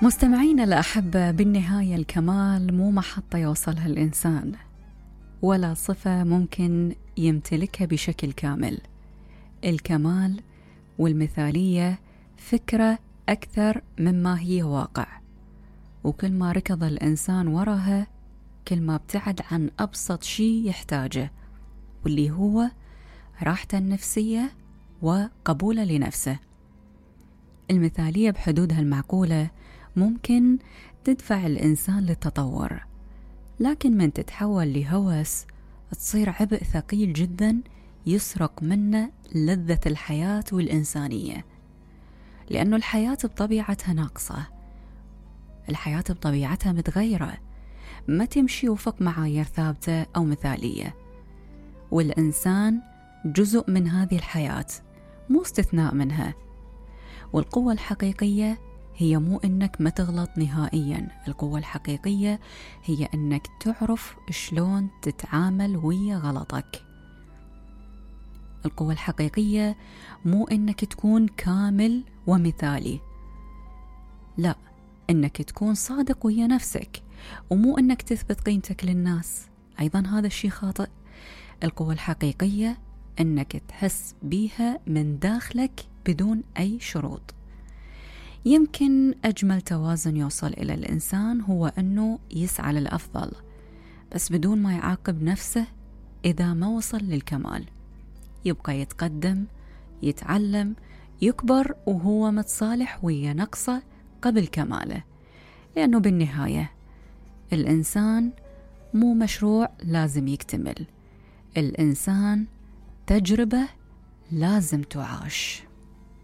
مستمعين الأحبة، بالنهاية الكمال مو محطة يوصلها الإنسان ولا صفة ممكن يمتلكها بشكل كامل. الكمال والمثالية فكرة أكثر مما هي واقع، وكل ما ركض الإنسان وراها كل ما ابتعد عن أبسط شيء يحتاجه، واللي هو راحته النفسية وقبوله لنفسه. المثالية بحدودها المعقولة ممكن تدفع الإنسان للتطور، لكن من تتحول لهوس تصير عبء ثقيل جدا يسرق منه لذة الحياة والإنسانية، لأنه الحياة بطبيعتها ناقصة، الحياة بطبيعتها متغيرة، ما تمشي وفق معايير ثابتة أو مثالية، والإنسان جزء من هذه الحياة مو استثناء منها. والقوة الحقيقية هي مو إنك ما تغلط نهائيا، القوة الحقيقية هي إنك تعرف شلون تتعامل ويا غلطك. القوة الحقيقية مو إنك تكون كامل ومثالي، لا، إنك تكون صادق ويا نفسك، ومو إنك تثبت قيمتك للناس، أيضا هذا الشيء خاطئ. القوة الحقيقية إنك تحس بيها من داخلك بدون أي شروط. يمكن أجمل توازن يوصل إلى الإنسان هو أنه يسعى للأفضل بس بدون ما يعاقب نفسه إذا ما وصل للكمال، يبقى يتقدم، يتعلم، يكبر وهو متصالح ويا نقصه قبل كماله، لأنه بالنهاية الإنسان مو مشروع لازم يكتمل، الإنسان تجربة لازم تعاش.